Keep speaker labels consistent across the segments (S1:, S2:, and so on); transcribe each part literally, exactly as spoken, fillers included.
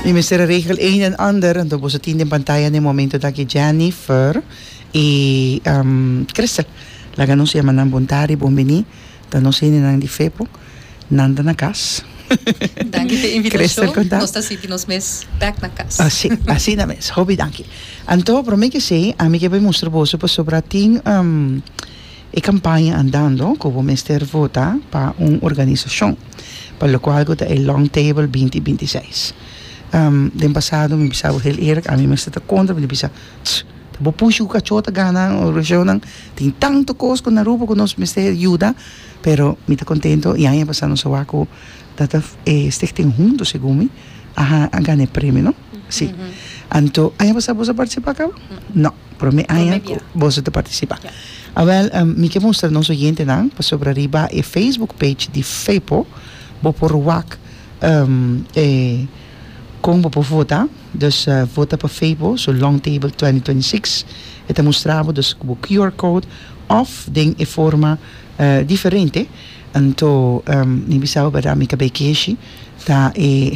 S1: Mi mester a regel een en ander, anto boso tin den pantaya na e momento aki Jennifer y um, Crystal. Laga nos yama nan bon tardi, bon bini. Ta nos hendenan di FEPO. Nan ta na cas.
S2: Danki pa e
S1: Crystal,
S2: invitacion.
S1: Conta.
S2: Nos ta sinti nos mes back na cas.
S1: Asina, asina mes. Hopi danki. Anto, prome cu esey, ami kier mustra boso pasobra tin um, e campaña andando cu bo mester vota pa un organisacion, pa locual cu ta e Long Table dos mil bintiseis. Um, den pasado, mi bisa heel eerlijk, ami mester ta contra, mi bisa, "Tss, ta bo pushi cu cacho ta gana, organisacion, tin tanto cos cu na Aruba cu nos mester yuda," pero mi ta contento y aña pasa nos a wak cu dat eh, Stichting Hunto, segun mi, a, a gana premio, no? Si. Anto, aña pasa boso a participa caba? No, prome aña
S2: Prome.
S1: boso ta participa.
S2: Ja.
S1: Awel, um, mi kier mustra nos oyentenan, pasobra riba e Facebook page di FEPO, bo por wak um, eh, con bo por vota, dus uh, vota pa FEPO, su Long Table dos mil bintiseis, e ta mustra bo dus e Q R code of den e forma uh, diferente. Anto, um, mi bisa bo, mi cabey keshi, ta e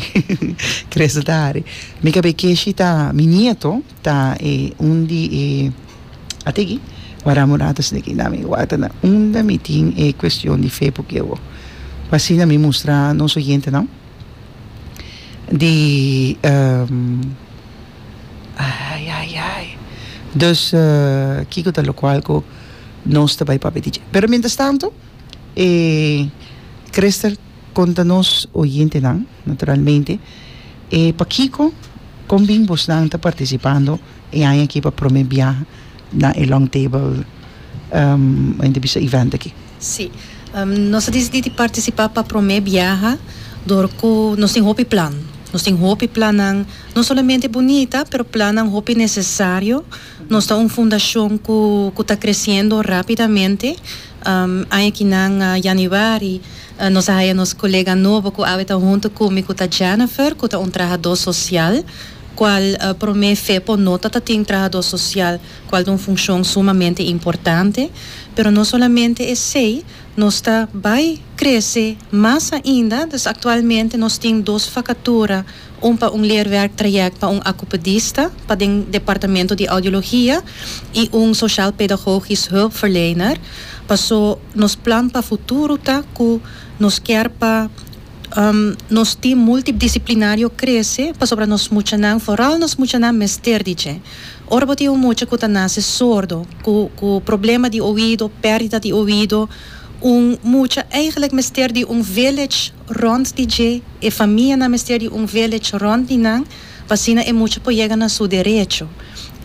S1: Crystal ta hari. Mi cabey keshi ta mi nieto, ta e un di e ategi. Wara murata sneki na mi wata na unda mi tin e cuestion di FEPO cu eu. Asina mi mustra nos oyentenan? Di um, ai ai ai. Dus uh, kiko ta locual cu nos ta bay papia di dje. Pero mientras tanto, eh, Crystal, conta nos oyentenan, naturalmente, eh, pakiko con bin bosnan ta participando e aña aki pa prome biaha na e Long Table um, entrevista event aki?
S2: Si. Um, nos a dicidi di participa pa prome biaha, door cu nos tin hopi plan. Nos tin hopi plan, no solamente bunita, pero plan hopi necesario. Nos ta un fundacion cu cu ta creciendo rapidamente. Um, aki na uh, januari, uh, nos a haya nos colega nobo cu ta hunto cu mi, cu ta Jennifer, cu ta un trahador social, cual uh, prome FEPO no tabatin trahador social, cual ta un funcion sumamente importante, pero no solamente esey, nos ta bay crece mas ainda, dus actualmente nos tin dos vacatura, un pa un leerwerktraject pa un acupedista, pa e departamento di audiologia, y un sociaal pedagogisch hulpverlener. Paso nos plan pa futuro ta cu nos kier pa um, nos team multidisciplinario crece, pasobra nos muchanan, vooral nos muchanan mester di dje. Ora bo tin un mucha cu ta nace sordo, cu, cu problema di oido, perdida di oido, un mucha eigenlijk mester di un village rond di dje, e famianan mester di un village rond di nan, pa asina e mucha por yega na su derecho.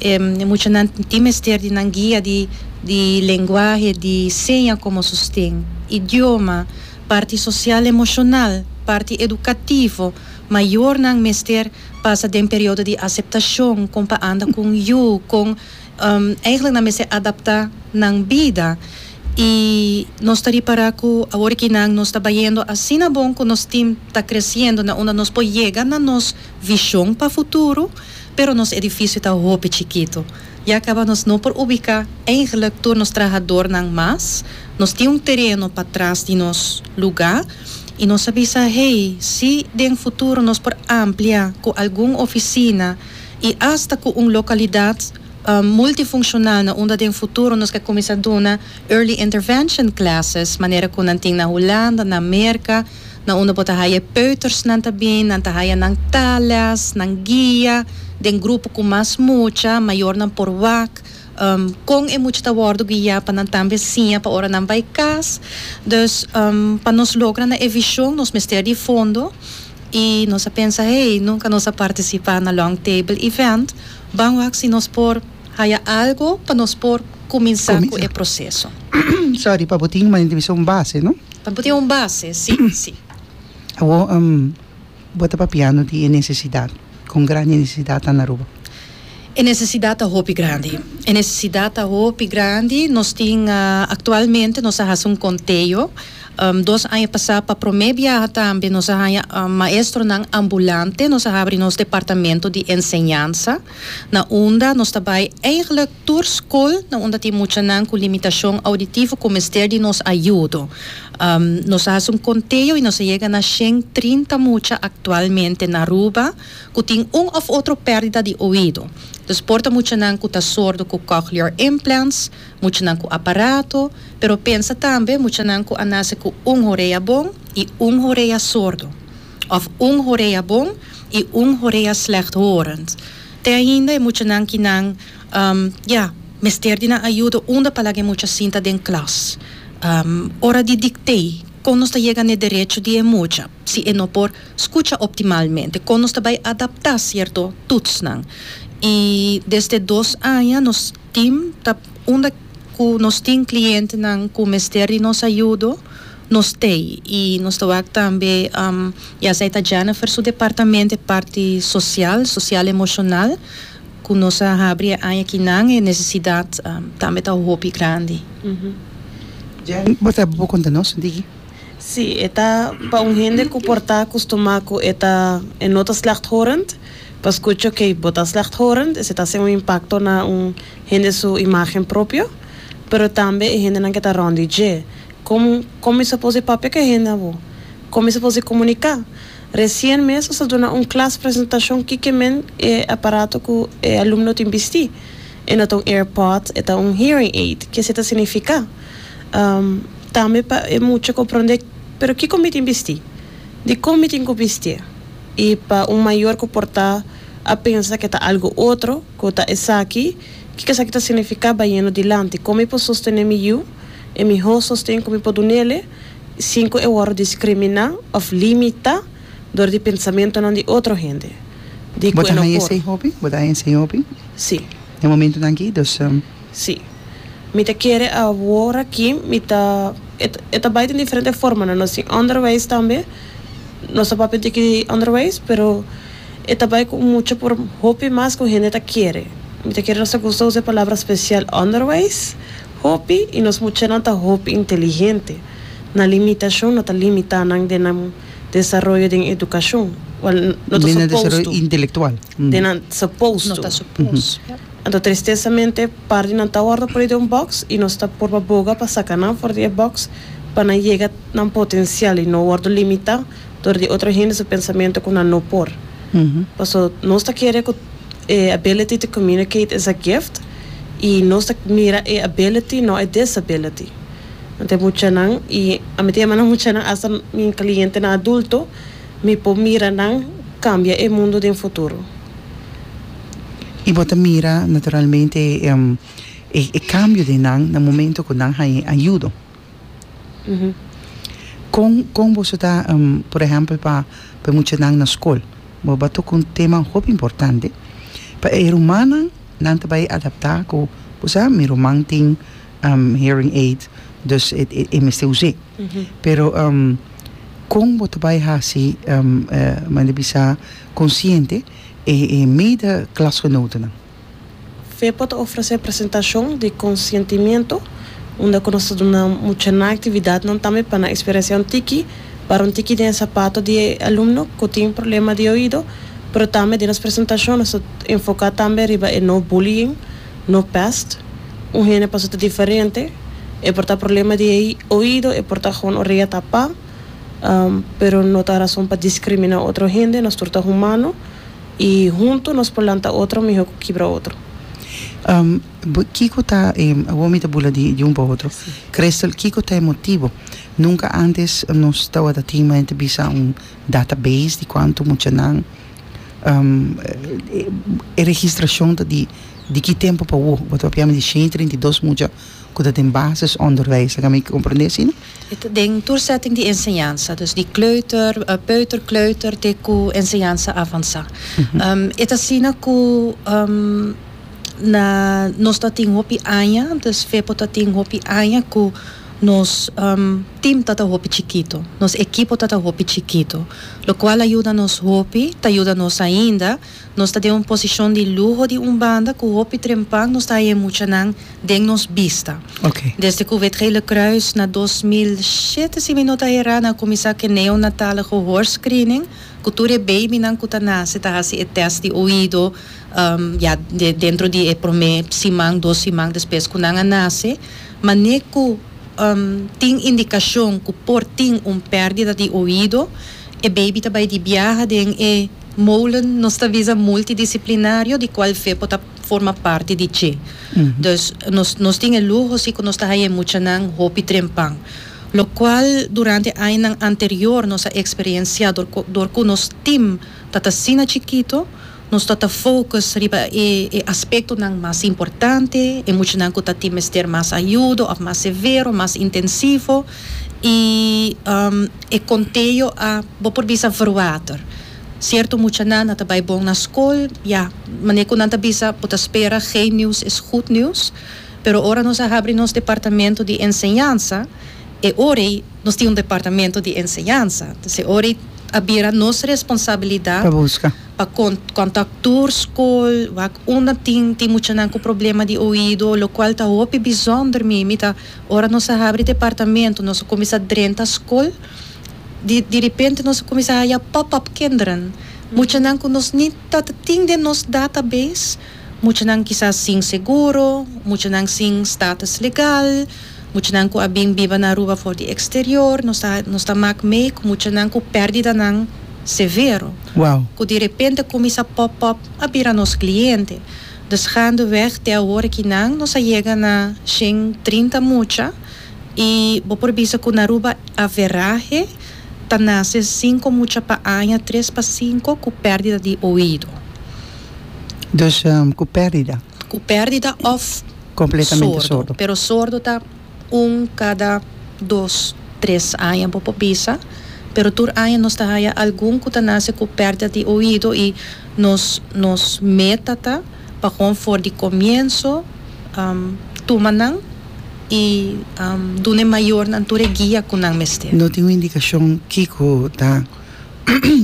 S2: E, e muchanan tin mester di nan guia di, di lenguahe, di seña como sosten, idioma, parti social emocional, parti educativo, mayornan mester pasa den periodo di aceptacion, con pa anda cu yiu, con um, eigenlijk nan mester adapta nan bida. Y nos ta para cu awor cu nan nos ta bayendo asina bon cu nos team ta creciendo na unda nos por yega na nos vision pa futuro, pero nos edificio ta hopi chikito. Ya caba nos no por ubica eigenlijk tur nos trahadornan mas. Nos tin un tereno patras di nos lugar y nos a bisa, "Hey, si den futuro nos por amplia cu algun oficina y hasta cu un localidad um, multifuncional na unda den futuro nos kier cuminsa duna early intervention classes, manera cu nan tin na Hulanda, na Amerika, na unda bo ta haya peuters nan ta bin, nan ta haya nan taalles, nan guia, den grupo cu mas mucha, mayornan por wak, um, con e mucha ta wordo guia pa nan tambe siña pa ora nan bay cas." Dus um, pa nos logra na e vision, nos mester di fondo y nos a pensa, "Hey, nunca nos a participa na Long Table event, ban wak si nos por haya algo pa nos por cuminsa cu
S1: Cuminsa.
S2: e proceso."
S1: Sorry, pa bo tin un entrevista un base, no?
S2: Pa tin un base, si, si.
S1: Awo, um, bo ta papiando di necesidad, con grandi necesidad na Aruba.
S2: E necesidad ta hopi grandi. E necesidad ta hopi grandi. Nos tin uh, actualmente nos a haci un conteo. Um, dos aña pasa, pa prome biaha tambe nos a haya um, maestronan ambulante, nos a habri nos departamento di enseñansa, na unda nos ta bay eigenlijk tur scol, na unda tin muchanan cu limitacion auditivo cu mester di nos ayudo. Um, nos a haci un conteo y nos a yega na shen trinta mucha actualmente na Aruba cu tin un of otro perdida di oido. Dus por ta muchanan cu ta sordo cu cochlear implants, muchanan cu aparato, pero pensa tambe muchanan cu a nace cu un orea bon y un orea sordo. Of un orea bon y un orea slechthorend. Te ainda e muchanan cu nan, um, ja, mester di nan ayudo unda pa laga mucha sinta den klas. Um, ora di dictee, con nos ta yega na derecho di mucha, si e no por scucha optimalmente, con nos ta bay adapta cierto toetsnan. Y desde dos aña nos team ta unda cu nos tin clientenan cu mester di nos ayudo, nos tey y nos ta tambe um, ya esey ta Jennifer su departamento, parti social, social emocional, cu nos a habri aña akinan e necesidad um, tambe ta hopi grandi.
S1: Jen, bo ta por conta nos, Digi?
S3: Si, ta pa un hende cu por ta acostuma cu e ta e no ta slechthorend, pa scucha cu bo ta slechthorend, esey ta un impacto na un hende su imagen propio, pero tambe e hendenan cu ta rond di dje. Con con mi por papia cu hende bo? Con mi por comunica? Recien mes a duna un klas presentacion cu kiermen e aparato cu e alumno tin bisti. E no ta un AirPod, e ta un hearing aid. Kico esey ta significa? Um, tambe pa e mucha comprende, pero kico mi tin bisti? Di con mi tin cu bisti? Y pa un mayor cu por ta a pensa cu ta algo otro, cu ta esaki, kico esaki ta significa bayendo dilanti? Con mi por sostene mi yiu, e miho sosten cu mi por dunele, sin cu e wordo discrimina of limita door di pensamentonan di otro hende. Di
S1: Bo ta
S3: cu no
S1: haya
S3: por.
S1: esey hopi? Bo ta haya esey hopi?
S3: Si.
S1: Na momentonan aki, dus um,
S3: Si. Mi ta kere awor aki, mi ta e ta bay den diferente forma, no? Nos tin onderwijs tambe. Nos ta papia di onderwijs, pero e ta bay cu mucho por hopi mas cu hende ta kere. Mi ta kere nos gusta usa e palabra special onderwijs, hopi, y nos muchanan ta hopi inteligente. Nan limitacion no ta limita nan den nan desaroyo di educacion. Well, no ta
S1: den
S3: supposed
S1: desaroyo
S3: to.
S1: Intelectual. Mm.
S3: Den nan supposed
S2: No
S3: to.
S2: ta supposed.
S3: Anto, tristesamente, parti nan ta wordo poni den un box y nos ta por boga pa saca nan for di box pa nan yega na potencial y no wordo limita door di otro hende su pensamento cu nan no por.
S1: Mhm.
S3: Paso nos ta kere cu eh, ability to communicate is a gift y nos ta mira e ability, no e disability. Anto muchanan y ami ta yama muchanan, hasta mi clientenan adulto, mi por mira nan cambia e mundo den futuro.
S1: Y bo ta mira naturalmente um, e, e cambio di nan na momento cu nan haya ayudo.
S3: Uhum.
S1: Con con bo ta, um, por ehempel, pa pa muchanan na scol. Bo a toca un tema hopi importante. Pa e rumannan nan ta bay adapta cu, o sea, mi ruman tin um, hearing aid, dus e e, e mester usa.
S3: Uhum.
S1: Pero um, con bo ta bay hasi um, uh, manda bisa consciente e, e mede klasgenoten.
S3: FEPO ta ofrece presentacion di conscientimento, unda nos ta duna mucha actividadnan tambe pa nan experiencia un tiki, pa un tiki den zapato di alumno cu tin problema di oido, pero tambe den nos presentacion nos ta enfoca tambe riba e no bullying, no pest, un hende paso ta diferente, e por ta problema di oido, e por ta gewoon orea tapa, um, pero no ta rason pa discrimina otro hende, nos tur ta humano, y hunto nos por lanta otro miho cu kibra otro.
S1: Um, bo- Kico ta, eh, awor mi ta bula di, di un pa otro. Crystal, kico ta e motibo? Nunca antes nos tabata tin bisa un database di cuanto muchanan um, e, e registracion ta di di ki tempo pa awor? Bo ta papia di shen trinta i dos mucha cu ta den basisonderwijs. Kan mi comprende asina?
S2: E den tur setting di enseñansa, dus di kleuter, uh, peuter, kleuter, te cu enseñansa avansa. Um, e ta asina cu um, na nos ta tin hopi aña, dus FEPO ta tin hopi aña cu Nos um, team tata hopi chikito, nos ekipo tata hopi chikito, locual a yuda nos hopi, ta yuda nos ainda. Nos ta den un posicion di luho di un banda, cu hopi trempan nos ta haya muchanan den nos bista.
S1: Ok.
S2: Desde cu Wit Gele Kruis na dos mil shete, si mi no ta era, a cuminsa cu neonatale gehoorscreening, cu tur e babynan cu ta nace ta hasi e test di oido, um, ja, de, dentro di e prome siman, dos siman despues cu nan a nace, mane cu um, tin indicacion cu por tin un perdida di oido, e baby ta bay di biaha den e molen, nos ta bisa, multidisciplinario, di cual FEPO ta forma parti di dje.
S1: Mm.
S2: Dus nos nos tin e luho si cu nos ta haya muchanan hopi trempan. Locual durante añanan anterior nos a experiencia door, door cu nos team tata asina chikito, nos tata focus riba e, e aspectonan mas importante, e muchanan cu ta tin mester mas ayudo, of mas severo, mas intensivo, y um, e conteo a, bo por bisa, verwater. Cierto muchanan ta bay bon na school, ja, manera cu nan ta bisa, bo ta spera, geen nieuws is goed nieuws. Pero ora nos a habri nos departamento di enseñansa, e ora nos tin un departamento di enseñansa. Anto, ora a bira nos responsabilidad
S1: Pa busca.
S2: Pa con contacta school, wak unda tin tin muchanan cu problema di oido, locual ta hopi bijzonder mi, mi ta ora nos a habri departamento, nos a cuminsa drenta school, di, di repente nos a cuminsa haya pop-up kinderen. Muchanan cu nos no tata tin den nos database, muchanan kisas sin seguro, muchanan sin status legal, muchanan cu a bin biba na Aruba for di exterior, nos ta nos ta maak mee cu muchanan cu perdidanan severo.
S1: Wow.
S2: Cu di repente cuminsa pop up a bira nos cliente. Dus gaandeweg te awor cu nan nos a yega na shen trinta mucha y bo por bisa cu na Aruba average ta nace cinco mucha pa aña, tres pa cinco, cu perdida di oido.
S1: Dus um, cu perdida.
S2: Cu perdida of
S1: completamente
S2: sordo.
S1: Sordo.
S2: Pero sordo ta un cada dos, tres aña, bo por bisa. Pero tur aña nos ta haya algun cu ta nace cu perdida di oido y nos nos meta ta pa gewoon for di comienso um, tuma nan y um, duna mayornan tur e guia cu nan mester.
S1: No tin un indicacion kico ta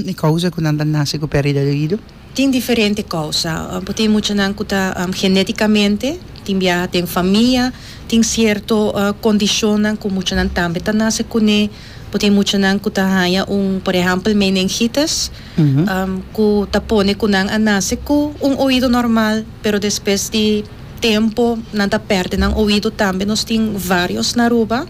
S1: e causa cu nan ta nace cu perdida di oido?
S2: Tin diferente causa. Um, tin muchanan cu ta um, geneticamente, tin bia tin famia, tin cierto uh, condicionnan cu muchanan tambe ta nace cune. Tin muchanan cu ta haya un, por ehempel, meningitis,
S1: Mhm.
S2: um, cu ta pone cu nan a nace cu un oido normal, pero despues di tempo nan ta perde nan oido tambe. Nos tin varios na Aruba,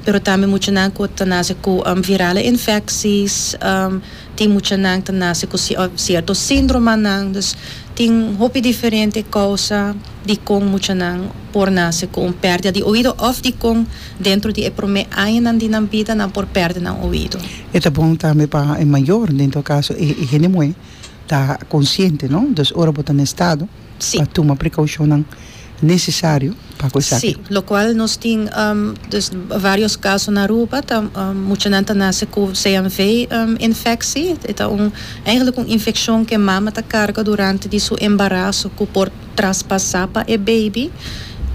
S2: pero tambe muchanan cu ta nace cu um, virale infecties, um, tin muchanan ta nace cu ci- uh, cierto sindromenan, dus tin hopi diferente causa di con muchanan por nace cu un perdida di oido of di con dentro di e prome añanan di nan bida nan por perde nan oido.
S1: E ta bon tambe pa e mayor, den todo caso, e, e hende muhe, ta consciente, no? Dus ora bo ta na estado,
S2: Si.
S1: pa tuma precaucionnan necesario pa cos.
S2: Si, locual nos tin um, dus varios caso na Aruba, ta um, muchanan ta nace cu C M V um, infectie. E ta un, eigenlijk un infeccion cu mama ta carga durante di su embaraso cu por traspasa pa e baby.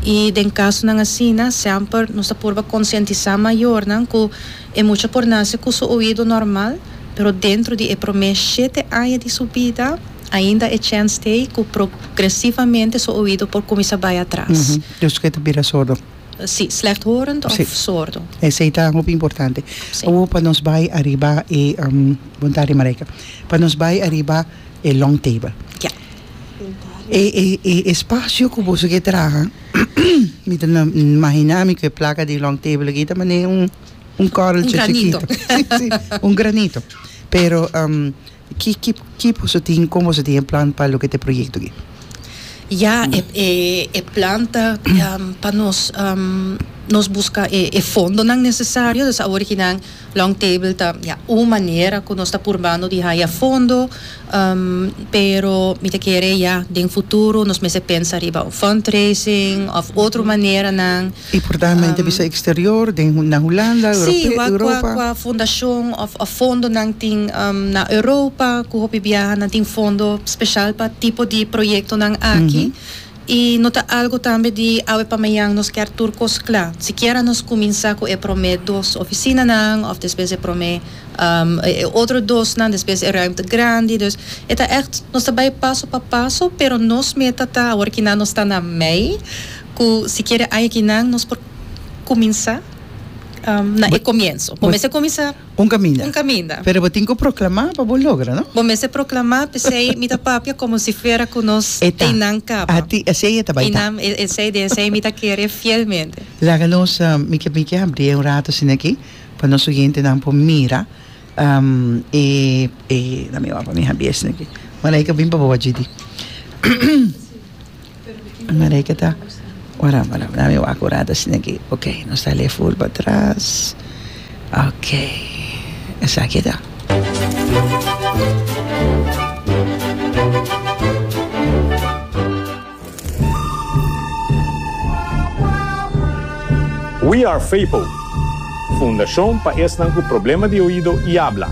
S2: Y den casonan asina, semper nos ta purba concientisa mayornan cu e mucha por nace cu su oido normal, pero dentro di e prome shete aña di su bida, ainda e chance t'ey cu progresivamente su oido por cuminsa bay atras.
S1: Uhum. Dus cu ta bira sordo.
S2: Si, slechthorend of
S1: Si.
S2: sordo.
S1: Esey ta hopi importante.
S2: Si.
S1: Awor pa nos bay ariba e um, bon tardi, Mareka. Pa nos bay ariba e long table.
S2: Ja.
S1: E, e, e espacio cu bo kier traha, mi ta imagina mi cu e placa di long table aki tambe un un korreltje
S2: Un granito.
S1: chikito. Si, si, un granito. Pero um, ki ki ki bo tin, con bo tin plan pa loke ta e proyecto aki?
S2: Ja, e, e, e plan ta um, pa nos um, nos busca e, e fondonan necesario, dus awor cu long table ta, ja, un manera cu nos ta purbando di haya fondo, um, pero mi ta kere, ja, den futuro nos mester pensa riba un fundraising of otro maneranan.
S1: Importante
S2: Um,
S1: bisa exterior, den na Hulanda,
S2: Si,
S1: Europe,
S2: wa
S1: Europa.
S2: qua, qua fundacion of, of fondonan tin um, na Europa, cu hopi biaha nan tin fondo special pa tipo di proyectonan aki. I no ta algo tambe di awe pa mañan nos kier tur cos cla. Sikiera nos cuminsa cu e prome dos oficinanan of despues e prome um, e otro dos nan, despues e ruimte grandi. Dus e ta echt, nos ta bay paso pa paso, pero nos meta ta, awor cu nos ta na mei, cu sikiera akinan nos por cuminsa um, na e comienso. Cuminsa cuminsa
S1: Un caminda.
S2: Un caminda.
S1: Pero bo tin cu proclama pa bo logra, no?
S2: Bo mester proclama, pesey mi ta papia como si fuera cu nos
S1: E ta.
S2: teinan caba.
S1: Ati, esey ta bay ta.
S2: Einan, esey esey mi ta kere fielmente.
S1: Laga nos, uh, mi kier mi kier habri un rato asina aki, pa nos oyentenan por mira, um, e, e, na mi pa mi habri asina aki. Marijke, bin pa bo, Gidi. Marijke ta, ora, ora, na mi wak un rato asina aki. Ok, nos ta full pa atras. Ok, esaki ta.
S4: We are FEPO, Fundacion pa esnan cu problema di oido y habla.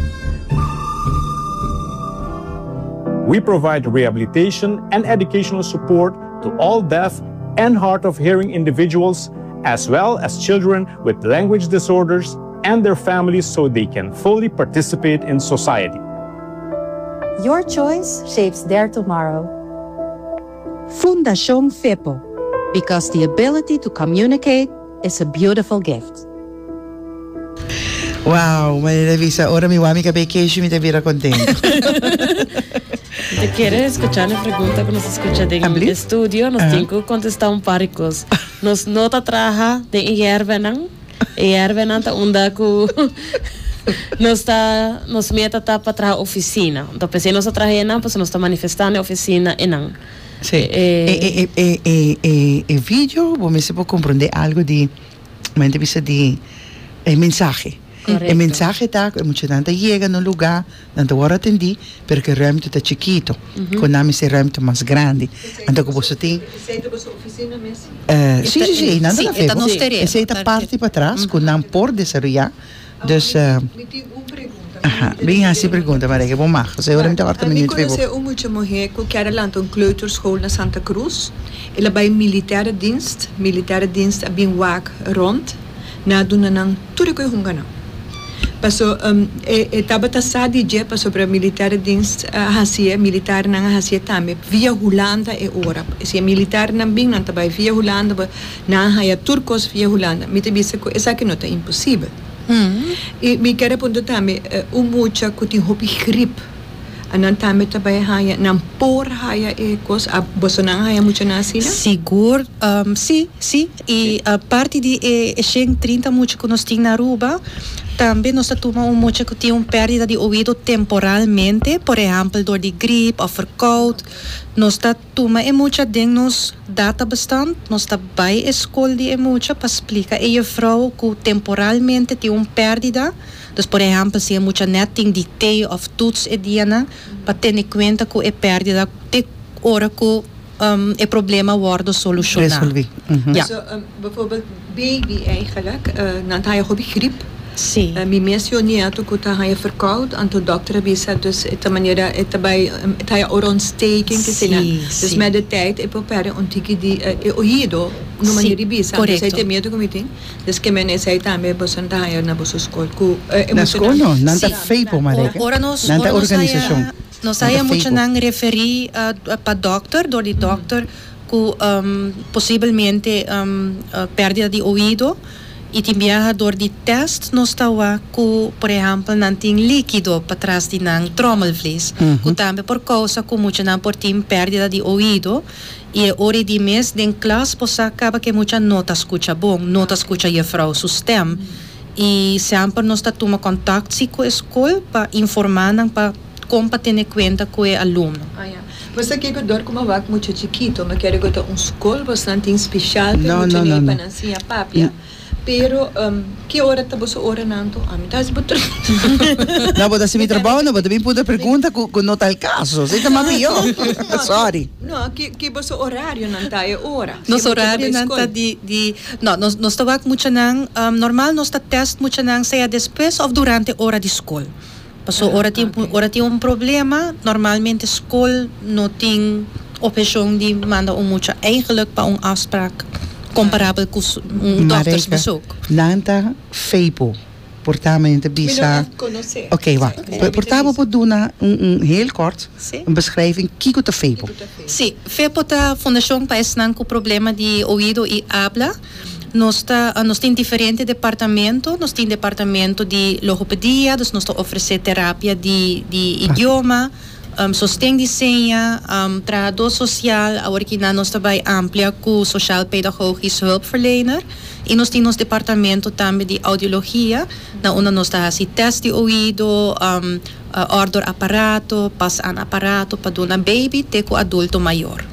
S4: We provide rehabilitation and educational support to all deaf and hard of hearing individuals, as well as children with language disorders and their families so they can fully participate in society.
S5: Your choice shapes their tomorrow.
S2: Fundacion FEPO,
S5: because the ability to communicate is a beautiful gift.
S1: Wow, manera bisa, ora mi wak mi cabey keshi mi ta bira contento.
S3: Te kier scucha e pregunta cu nos a scucha den
S1: Abli?
S3: Studio, nos
S1: Aha.
S3: tin cu contesta un par di cos. Nos no ta traha den yerbenan, yerbenan ta unda cu nos ta nos meta ta pa traha oficina. Anto pesey nos ta traha nan, pues nos ta manifestando e oficina einan.
S1: Si.
S3: Eh,
S1: E, e, e, e, e, e video, bo mester por comprende algo di, mente bisa di e mensahe.
S3: Correcto.
S1: E mensahe ta, e muchanan ta yega na un lugar, nan ta wordo atendi, pero cu e ruimte ta chikito. Cu nan mester ruimte mas grandi. Anto cu bo tin
S6: Esey ta boso oficina mes?
S1: Eh, si, si, si, nan
S2: Si,
S1: ta
S2: e ta nos tereno.
S1: Esey ta parti pa atras, cu nan por desaroya. Dus, uh,
S6: Mi tin un pregunta.
S1: Aha, bin haci pregunta, Marijke, bon mag. Seguro mi ta warda
S6: Mi
S1: minuut
S6: conoce un mucha muhe cu kier lanta un kleuterschool na Santa Cruz. El a bay militaire dienst, militaire dienst a bin wak rond, nan a duna nan tur cu hunga nan. Paso um, e, e tabata sa di dje pasobra militaire dienst uh, hacie, militarnan a hacie tambe via Hulanda e ora. Si militarnan bin nan ta bay via Hulanda, ba- nan haya tur cos via Hulanda. Mi ta bisa cu esaki no ta imposibel.
S2: Hmm.
S6: I mi kier puntra tambe uh, un mucha cu tin hopi griep. En dan tambe tambe haya nan por haya e cos a boso nan haya mucha nan asina?
S2: Sigur, um, si, si. Y aparte di e, e shen trinta mucha cu nos tin na Aruba, tambe nos ta tuma un mucha cu tin un perdida di oido temporalmente, por ehempel door di griep of verkoud. Nos ta tuma e mucha den nos databestand, nos ta bay e school di e mucha pa splica e juffrouw cu temporalmente tin un perdida. Dus por ehempel, si e mucha net tin dictee of toets e dianan, pa tene cuenta cu e perdida te ora cu um, e problema wordo soluciona.
S1: Resolvi. Mhm.
S2: Ja.
S6: So, um, bijvoorbeeld baby eigenlijk, uh, nan haya hopi griep.
S2: Si.
S6: Uh, mi mes nieto cu ta haya verkoud, anto dokter a bisa, dus e manera e ta bay um, e haya oorontsteking
S2: Si,
S6: que Dus
S2: si.
S6: met de tijd e por perde un tiki di uh, e oido, no
S2: Si,
S6: manera di bisa. Dus
S2: correcto.
S6: esey ta miedo cu mi tin. Dus kiermen esey tambe boso ta haya na boso school cu uh,
S1: Na school no, nan ta
S2: Si.
S1: FEPO, Marijke.
S2: Ora nos,
S1: Nan ta
S2: ora nos
S1: organisacion.
S2: haya, nos
S1: Nan ta
S2: haya mucha
S1: FEPO.
S2: nan referi uh, pa dokter, door di dokter, cu um, posiblemente um, uh, perdida di oido. Y tin biaha door di test nos ta wak cu, por ehempel, nan tin likido patras di nan trommelvlies.
S1: Mhm.
S2: Cu tambe por causa cu mucha nan por tin perdida di oido. Y ora di mes den klas bo sa caba cu mucha no ta scucha bon, no ta scucha juffrouw su stem. Y semper nos ta tuma contact si cu e school pa informa nan pa con pa tene cuenta cu e alumno.
S6: Ah, ja. Mas aki cu door cu mi a wak mucha chikito, mi kier cu un school bastante special pa
S1: No,
S6: mucha
S1: no, no,
S6: pa
S1: no.
S6: nan siña papia. Pero um, ki ora ta boso oranan anto? Ah, mi ta boter.
S1: No, bo ta haci mi trabou, no, bo ta bin puntra pregunta cu cu no ta e caso. Esey ta mas mihor. Sorry.
S6: No, ki ki boso horarionan ta e ora?
S2: Nos
S6: Si mucha
S2: horario
S6: ta
S2: nan ta
S6: school.
S2: di di no, nos nos ta wak mucha nan um, normal nos ta test mucha nan sea despues of durante ora di school. Paso
S6: Ah,
S2: ora tin
S6: ok.
S2: ora tin un problema, normalmente school no tin Obheshon di manda un mucha eigenlijk pa un afspraak comparabel cu un doktersbezoek.
S1: Nan ta FEPO. Por ta mi ta bisa. Oké, wacht. Por ta bo por duna un, un heel kort een beschrijving kiko ta FEPO.
S2: Si, FEPO ta Fundacion pa esnan cu problema di oido y habla. Nos ta, nos tin diferente departamento, nos tin departamento di logopedia, dus nos ta ofrece terapia di, di idioma, um, sosten di seña, um, trahador social, awor cu nos ta bay amplia cu sociaal pedagogisch hulpverlener. Y nos tin departamento tambe di audiologia, na unda nos ta haci test di oido, um, uh, order aparato, pas aan aparato pa duna baby te cu adulto mayor.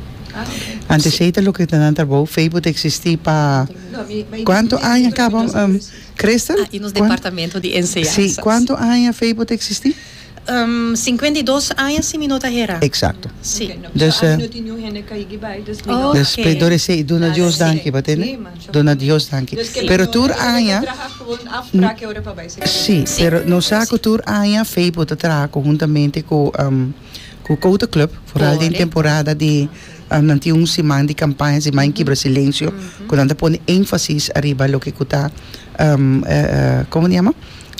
S1: Anto esey ta loke ta nan trabou, FEPO ta existi pa cuanto aña caba, um, Crystal?
S2: Ah, y nos departamento di enseñansa.
S1: Si, cuanto aña FEPO ta existi?
S2: Um, cincuenta y dos aña, si mi no ta hera.
S1: Exacto.
S2: Si.
S1: Dus, uh,
S2: Oh,
S1: dus
S2: ok.
S1: Door esey, duna Dios danki, bo ta tende? Duna Dios danki. Pero tur aña, si, pero nos sa cu tur aña FEPO ta traha conhuntamente cu um, cu Cota Club, vooral den
S2: Correcto.
S1: temporada di um, nan tin un siman di campaña, siman Kibra Silencio, cu nan ta pone enfasis ariba loke cu ta um, eh, eh, con yama?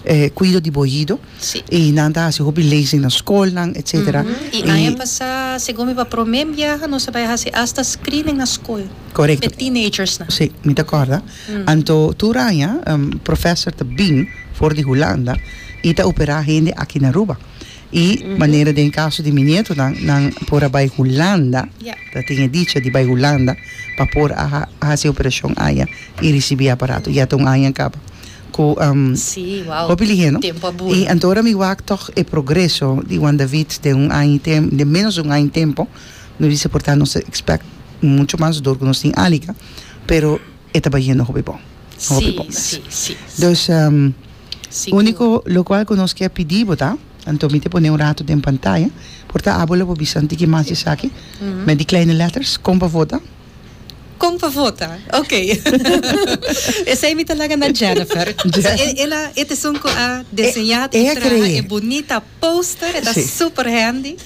S1: Eh, cuido di oido.
S2: Si.
S1: Y nan ta haci hopi lezing na scol, et cetera.
S2: Y aña pasa, segun mi, pa prome biaha, nos a bay haci hasta screening na scol.
S1: Correcto.
S2: Cu teenagers na.
S1: Si, mi ta corda. Anto tur aña, um, professor ta bin for di Hulanda y ta opera hende aki na Aruba. Y manera den caso di mi nieto nan nan por a bay Hulanda,
S2: Ja.
S1: ta tin e dicha di bay Hulanda pa por a haci operacion aya y ricibi aparato. Ya ta un aña caba. Cu um,
S2: Si, wow.
S1: hopi lihe, no?
S2: Tempo a bula.
S1: Y anto ora mi wak toch e progreso di Juan David di un aña tempo, di menos un aña tempo, no dice por tanto nos expect mucho mas door cu nos tin Alika, pero e ta bayendo hopi bon. Hopi
S2: Si,
S1: bon.
S2: si, si.
S1: Dus um,
S2: Sigur.
S1: unico locual cu nos kier pidi, ta? Anto mi ta pone un rato den pantaya, por ta abo lo bisa tiki mas esaki, met die kleine letters, con pa vota.
S2: Con pa vota. Ok. Esey mi ta laga na Jennifer.
S1: Jen-
S2: El a e ta esun cu a diseña
S1: E-
S2: e
S1: e a
S2: traha
S1: crea.
S2: e bunita poster, ta
S1: Si.
S2: super handy.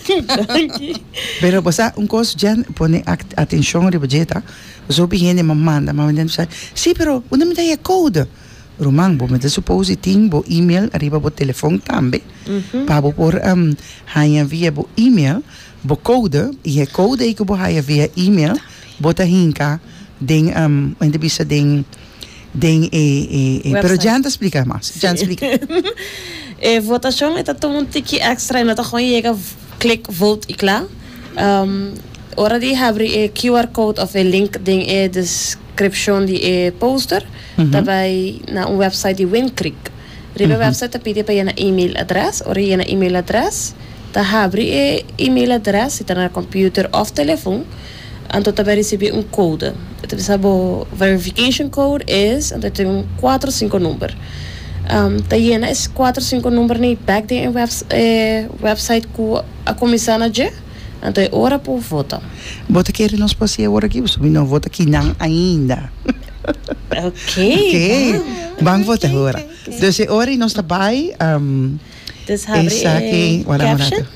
S1: Pero basta un cos Jen pone act- atencion riba dje ta. So hende a manda, ma mi sa, si, pero unda mi ta e code? Ruman, bo mester suppose tin bo email ariba bo telefon tambe. Pa bo por um, haya via bo email, bo code, y e code cu bo haya via email, bo ta hinka den um, ainda bisa den den e e, e pero
S3: Website.
S1: Jen ta explica mas. Jen explica.
S3: E votacion ta tuma un tiki extra y no ta gewoon yega click vote y klaar. Um, ora di habri e Q R code of e link den e description di e poster,
S1: Mhm.
S3: mm bay na un website di Wind Creek. Riba mm -hmm. website ta pidi pa yena email address, ora yena email address, ta habri e email address, si ta na computer of telefon, anto ta bay ricibi un code. Ta bisa bo verification code is, anto tin un cuater cinco number. Um, ta yena e cuater cinco number ni back den web, eh, website cu a cuminsa na G, anto e ora por vota.
S1: Bo ta kere nos por awor aki, bo no vota aki nan ainda.
S3: Ok.
S1: Ok. Ban vota awor. Dus ora nos ta bay um,
S3: Dus habri
S1: esaki,
S3: eh,
S1: wala mo
S3: caption.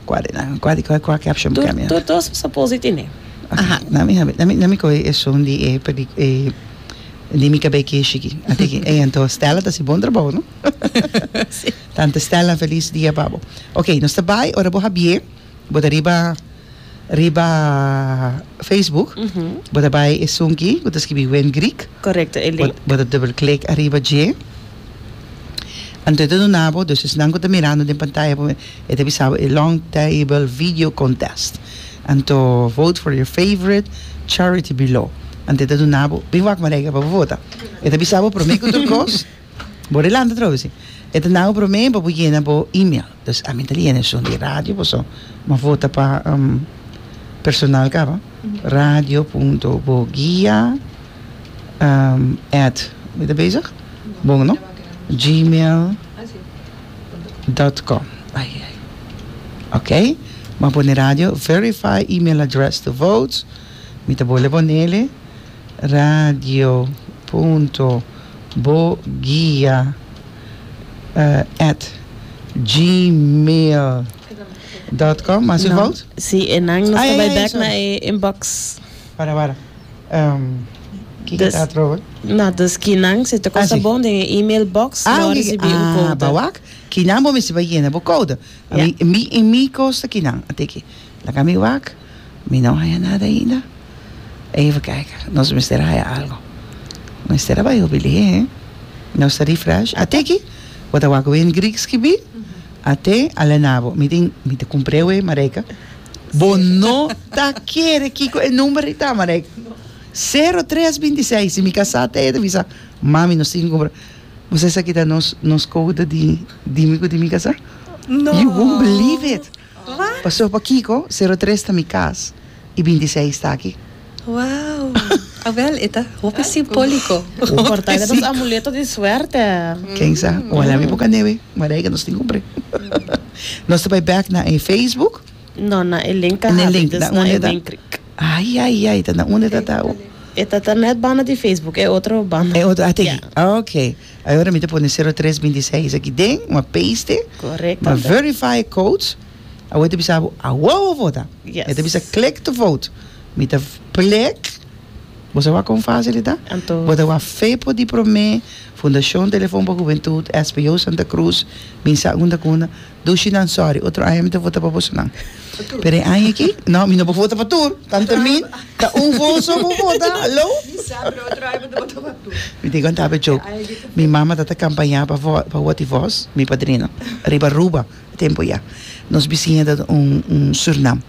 S1: Cua na, cua cua cua caption
S3: Tur,
S1: kami.
S3: tur dos suppose tin.
S1: Aha. Nami habi, nami nami ko esun di e pedi e di mi cabey kishiki. Ate ki eh anto Stella ta si bon trabou, no? Tante Stella, feliz dia pa bo. Ok, nos ta bay ora bo habri'e, bo ta riba riba Facebook.
S3: Uhum.
S1: Bo ta bay esun ki, bo ta skirbi Wen Greek.
S3: Correcto, e link.
S1: Bo ta double click ariba dje. Anto e duna bo, dus esnan cu ta mirando den pantaya, e ta bisa e long table video contest. Anto vote for your favorite charity below. Anto e duna bo, bin wak Marijke pa vota. E ta bisa bo prome cu tur cos. Bo relanda trobe si. E ta nou prome pa bo yena bo email. Dus ami ta yena esun di radio, so m'a vota pa um, personal caba. Radio punto boguia um, at, ben je bezig? Bon, no? gmail punt com. Ai, ai. Ok. M'a pone radio. Verify email address to vote. Mi ta bolbe ponele. Radio punto boguia uh, at gmail Dot com, mas
S3: No.
S1: fout?
S3: Si, e nan nos
S1: Ai,
S3: ta
S1: ai,
S3: bai
S1: ai,
S3: back
S1: sorry.
S3: na e inbox.
S1: Para, para. Um, Kiko
S3: Dus-
S1: ta atrobe?
S3: No, dus kinan, si ta
S1: Ah,
S3: kosta
S1: si.
S3: bon, den e-mail box,
S1: Ah,
S3: lo
S1: oké.
S3: risibí un
S1: Ah,
S3: code.
S1: Bo wak. Kinan bo mester bai yena bo code.
S3: Ja.
S1: Mi, mi, in mi kosta kinan. At'é aki. Laga mi wak. Mi no haya nada ainda. Even kijken. Nos mester haya algo. Mester bai obili, hè? Nos ta refresh. At'é aki. Bo ta wak Win Greek skibi. At'é ala na bo. Mi tin, mi ta kumpr'é, Marijke. Bo no ta kere kiko e number ta, Marijke. zero tres bintiseis. Si mi kasá ta bisa, "Mami, nos tin kumpra." Bo sa esaki ta nos nos code di di mi di mi kasá?
S2: No.
S1: You won't believe it.
S2: What?
S1: Pasó pa kiko, zero tres ta mi kas i bintiseis ta aki.
S2: Wow. Ah, wel, e ta hopi simbóliko.
S3: Por ta, e amuleto di suerte.
S1: Ken sa? Wala mi boka nebe. Marijke, nos tin kumpr'é. Nos ta bai back na e Facebook.
S3: No, na e link.
S1: Na e link,
S3: dus
S1: na
S3: na
S1: unda
S3: e
S1: ta?
S3: Winkrijk.
S1: Ai, ai, ai, ta na unda ta ta.
S3: E ta ta net banda di Facebook, e otro banda.
S1: E otro, at'é aki.
S3: Ja.
S1: Ok. Awor mi ta pone zero tres bintiseis aki den, m'a paste.
S3: Correcto.
S1: M'a verify code. Awor ta bisa, awor vota.
S3: Yes.
S1: E ta bisa click to vote. Mi ta click. Bo sa kon fásil ta?
S3: Anto,
S1: Bo ta wak FEPO di Promé, Fundashon Telefon pa Hubentut, S P O Santa Cruz, Minsa Unda Kuna, Dushi nan, sorry, otro aña mi ta vota pa boso nan. Pero aña aki, no, mi no por vota pa tur. Tanta min, ta un voto so por vota. Hallo? Mi tin konta un joke. Mi mama ta kampaña pa pa Watty Vos, mi padrino, riba Aruba, tempu ya. Nos bisiña ta un un Surnam.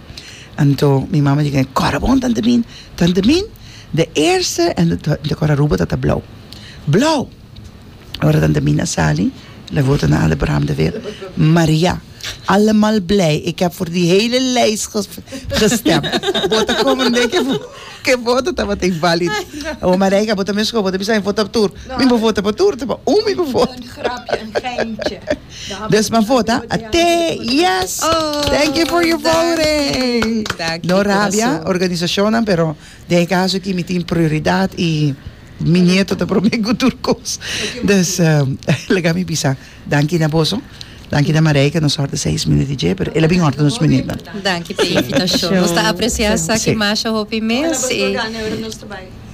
S1: Anto mi mama di, "Kòrda bon, tante Min, tante Min, de eerste", en de, de kòrda Aruba ta blou. Blou. Ora tante Min a sali, le vota naar de Bram de Weer. Maria, allemaal blij. Ik heb voor die hele lijst ges gestemd. Bo ta komprondé ku voto tabata invalid. Oh, Marijke, bo ta mes bo ta bisa vota tur. Mi por vota pa tur, pa un mi por vota.
S6: Een grapje, een geintje.
S1: Dus m'a vota, at'é, yes.
S2: Oh,
S1: Thank you for your voting.
S2: Dank
S1: No rabia,
S2: kurason.
S1: Organisashon, pero den kaso ku mi tin prioridat i mi nieto ta promé ku tur kos. Dus, um, laga mi bisa. Danki na boso. Danki na Marijke, nos hòrta seis minüt di dje, pero el a bin hòrta nos minüt.
S2: Danki pa e invitashon. Nos ta apresiá esaki
S1: Si.
S2: masha hopi mes. E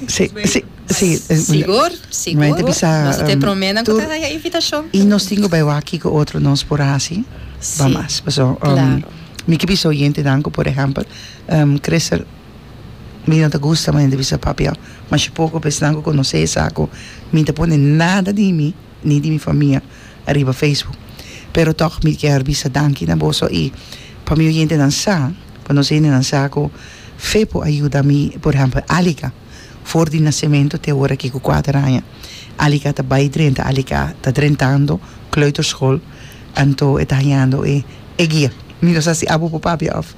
S1: Si, si, si.
S2: Sigur, sigur.
S1: Mas ta bisa,
S2: Nos ta
S1: um,
S2: promé ku
S1: tur-
S2: ta e invitashon.
S1: I nos tin ku bai aki ku otro nos por hasi.
S2: Si.
S1: Vamos. Paso, um,
S2: Claro.
S1: Mi ke bisa oyentenan, por ehèmpel, um, Crystal, mi no ta gusta, ma bisa papia, mas poko pensando konosé saco, mi ta pone nada di mi, ni di mi famia, riba Facebook. Pero toch mi ke bisa danki na boso i pa mi oyentenan sa, pa nos nan sa ku FEPO a yuda mi, por ehèmpel, Alika, for di nasementu te awor aki ku kuater aña. Alika ta bai drenta, Alika ta drentando kleuterschool, anto e ta hañando e e guia. Mi no sa si abo por papia of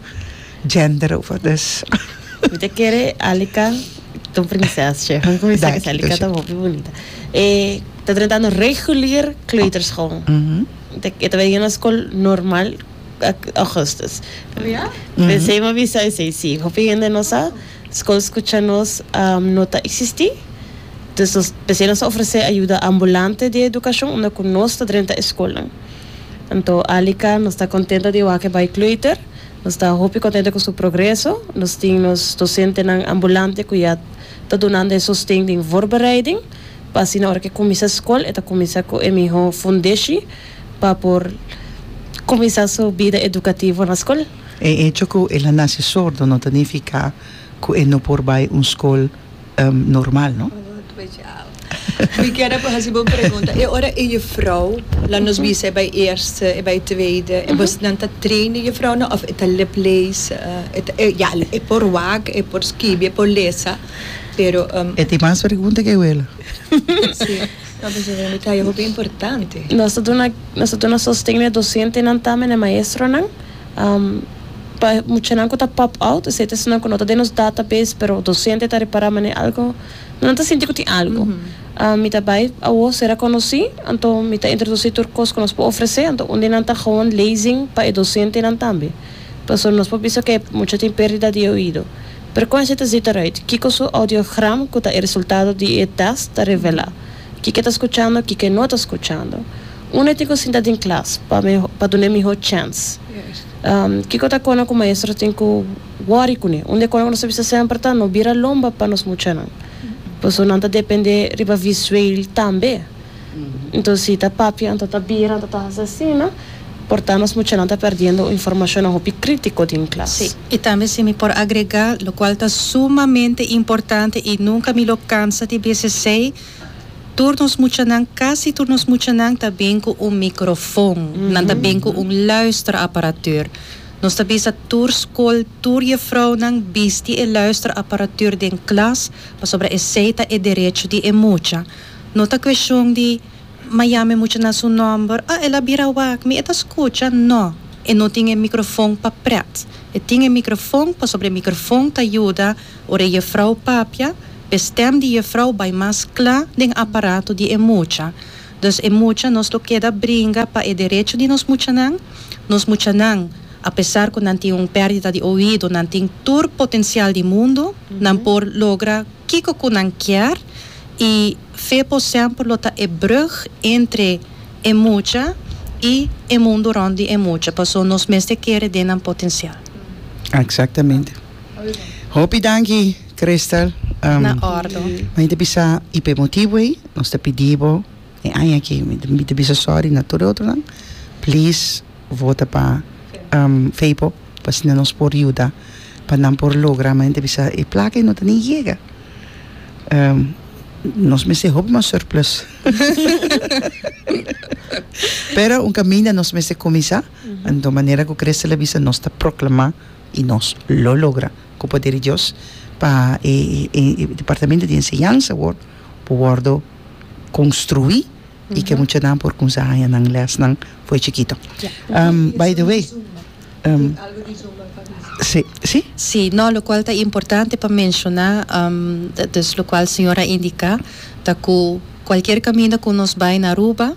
S1: gender of dus.
S3: Mi ta kere Alika, ta un prinsesje. Kon
S1: Dank
S3: ku Alika
S1: je.
S3: Ta hopi bunita. Eh, ta drentando regulier kleuterschool.
S1: Mhm.
S3: E ta bai na skol normal augustus.
S6: Ja?
S1: Mhm.
S3: Pensei m'a bisa esei, si. Hopi hende no sa, skol Skucha Nos um, no ta eksistí. Dus nos pensei nos ofresé ayudo ambulante di edukashon, unda ku nos ta drenta skol. Anto, Alika, nos ta kontentu di wak e bai kleuter. Nos ta hopi kontentu ku su progreso. Nos tin dosentenan ambulante ku ya ta dunando sosten di voorbereiding. Pa asina, ora ku kuminsá skol, ta kuminsá ku e mihó fundeshi pa por kuminsá su bida edukativo na skol.
S1: E hecho ku el a nase sordo no ta nifiká ku e no por bai un skol um, normal, no?
S6: Ik heb een pregunta. E ora e juffrouw, laat ons bisa bij eerste, bij tweede, e was dan ta trainen juffrouw no of e ta liplees, e ja, e por wak, e por skibi, e por lesa, pero um,
S1: E tin mas pregunta ku wela.
S6: Si. No, pero e ta importante.
S3: Nos ta nos ta sosten dosentenan tambe e maestronan. Um, pa muchanan ku ta pop out, esei ta nan ku no ta den nos database, pero docente ta repará mane algo, no ta sinti ku tin algo. Mm -hmm. um, mi ta bai awo sera konosí, anto mi ta introdusí tur kos ku nos por ofresé, anto un di nan ta gewoon lezing pa e dosentenan tambe. Paso nos por bisa ku mucha tin pérdida di oido. Pero kon esei ta ziet eruit? Kiko su audiogram, ku ta e resultado di e test, ta revelá. Kiko ta skuchando, kiko no ta skuchando. Un tin ku sinta den klas pa pa duna mihó chance.
S6: Yes.
S3: Um, kiko ta kos ku maestro tin ku worry kuné. Unda ku nos bisa semper ta no bira lomba pa nos muchanan. Paso nan ta dependé riba visueel tambe. Anto si ta papia, anto ta bira, anto ta asina, por ta nos muchanan ta perdiendo informashon hopi krítiko den klas.
S2: Sí, i tambe si mi por agregá, lokual ta sumamente importante i nunka mi lo kansa di bisa esei, tur nos muchanan, kasi tur nos muchanan ta bin ku un mikrofon, mm -hmm. nan ta bin ku un luisterapparatuur. Nos ta bisa tur skol, tur juffrouwnan bisti e luisterapparatuur den klas, pasobra esei ta e derecho di e mucha. No ta kuestion di m'a yama mucha na su nòmber, ah, el a bira wak mi, e ta skucha, no. E no tin e mikrofon pa pret. E tin e mikrofon, pasobra e mikrofon ta yuda, ora juffrouw papia, e stem di juffrouw bai mas kla den aparato di e mucha. Dus e mucha nos lo keda bringa pa e derecho di nos muchanan, nos muchanan, apesar ku nan tin un pèrdida di oido, nan tin tur potensial di mundu, nan por logra kiko ku nan kier i FEPO semper lo ta e brug entre e mucha i e mundu rònt di e mucha, paso nos mester kere den nan potensial.
S1: Exactamente. Hopi danki, Crystal. Um,
S2: Na òrdu.
S1: Mi ta bisa i p'e motibu ei, nos ta pidi bo e aña aki, mi ta bisa sorry na tur otronan. Please vota pa um, FEPO, pa asina nos por yuda, pa nan por logra, mi ta bisa e plaka no ta ni yega. Um, nos mester hopi mas surplus. Pero un kaminda nos mester kuminsá, di manera ku Crystal a bisa nos ta proklamá i nos lo logra ku poder di Dios pa e, e, e departamento di enseñansa wòrdu wòrdu konstruí i ku muchanan por kuminsá nan lesnan for di chikitu. Um, by the way, um, sí, sí?
S2: Sí, no, lokual ta importante pa menshoná, um, dus lokual señora a indiká, ta ku kualke kaminda ku nos bai na Aruba,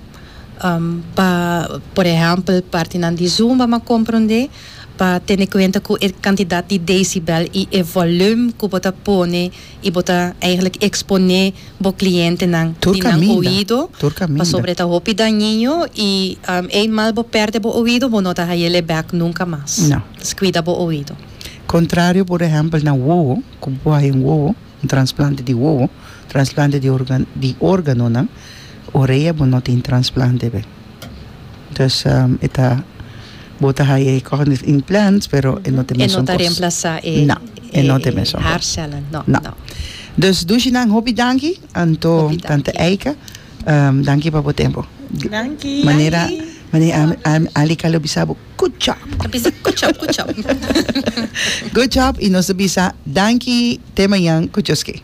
S2: um, pa, por ehèmpel, parti nan di Zumba, m'a komprondé, pa tene kuenta ku e kantidat di decibel i e volume ku bo ta pone i bo ta eigenlijk eksponé bo klientenan
S1: Tur
S2: di nan
S1: kaminda,
S2: oido
S1: tur kaminda.
S2: Pasobra ta hopi dañino i um, eenmaal bo pèrdè bo oido, bo no ta hay'é bèk nunka mas.
S1: No.
S2: Dus kuida bo oido.
S1: Kontrario, por ehèmpel, na wowo, ku un wowo, un transplante di wowo, transplante di órgano, di órgano, no? Orea bo no tin transplante be. Dus um, e ta bo ta haya cognitive implants, pero e no ta
S2: E
S1: mesun
S2: no ta
S1: kos.
S2: reemplasá e,
S1: No, e no ta mesun kos.
S2: Haarcellen. No,
S1: No.
S2: no.
S1: Dus dushinan hopi danki, anto
S2: Hopi
S1: tante
S2: danki.
S1: Eika, um, danki pa bo tempu.
S3: Danki.
S1: Manera, manera am, Ali lo bisa bo, good job.
S2: Bisa, good job, good job.
S1: Good job i nos bisa danki te mañan ku Joske.